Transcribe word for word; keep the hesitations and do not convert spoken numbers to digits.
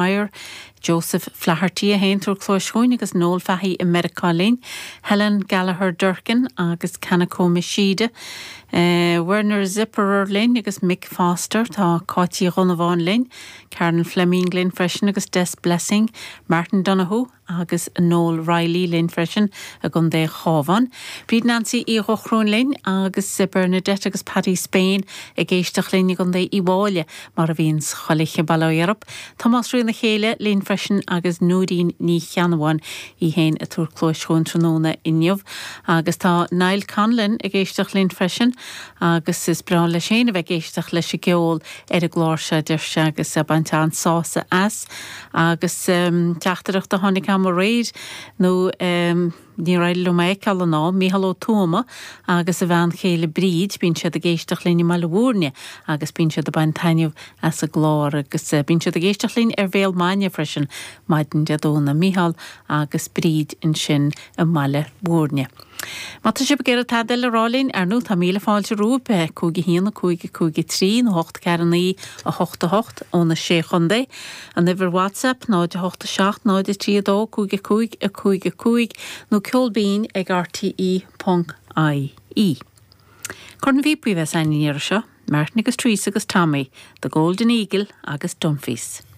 Meyer, Joseph Flaherty a haon tabhairt cluas chugainn agus Noel Fahey i Meiriceá linn, Helen Gallagher Durkin agus Kanako Mishida, uh, Werner Zipperer linn agus Mick Foster tá Cáití Dhonnabháin linn, Karen Fleming linn freisin agus Des Blessing, Martin Donoghue agus Noel Riley linn freisin i gContae an Chabháin. Bríd Nancy Uí Dhochróin linn agus Bernadette agus Paddy Spain ag éisteacht linn i gContae Uíbh Fhailí mar a bhíonn chuile bailí Europe. Tomás Rí na chéile linn freisin agus Núirín Ní Cheannabháin í féin ag tabhairt cluas chugainn tráthnóna inniu agus tá Niall Conlon ag éisteacht linn freisin agus is breá leis féin a bheith ag éisteacht leis an gceol ar an gclár seo deir sé agus baint an-sásamh as agus um, teachtaireacht a tháinig am aréir nó um, ní raibh liom é fheiceáil ná Mícheál Ó Tuama agus a bhean chéile Bríd bíonn siad ag éisteacht linn i mBaile Bhúirne agus bíonn siad ag baint taitneamh as an gclár agus uh, bíonn siad ag éisteacht linn ar Bhéal Maine freisin maidin Dé Domhnaigh Mícheál agus Bríd ansin i mBaile Bhúirne. Má tá sibh ag iarraidh tada eile a rá linn ar ndóigh tá míle fáilte romhaibh cúig haon cúig cúig trí nó hocht ceathair naoi a hocht a hocht ó na sé chontae. An uimhir WhatsApp náid a hocht a seacht náid a trí a dó cúig cúig a cúig a cúig nó ceolbinn ag RTE ponc IE. Corn bhí bheith san iar seo, Martin agus Teresa agus Tommy, The Golden Eagle agus Dunphy's.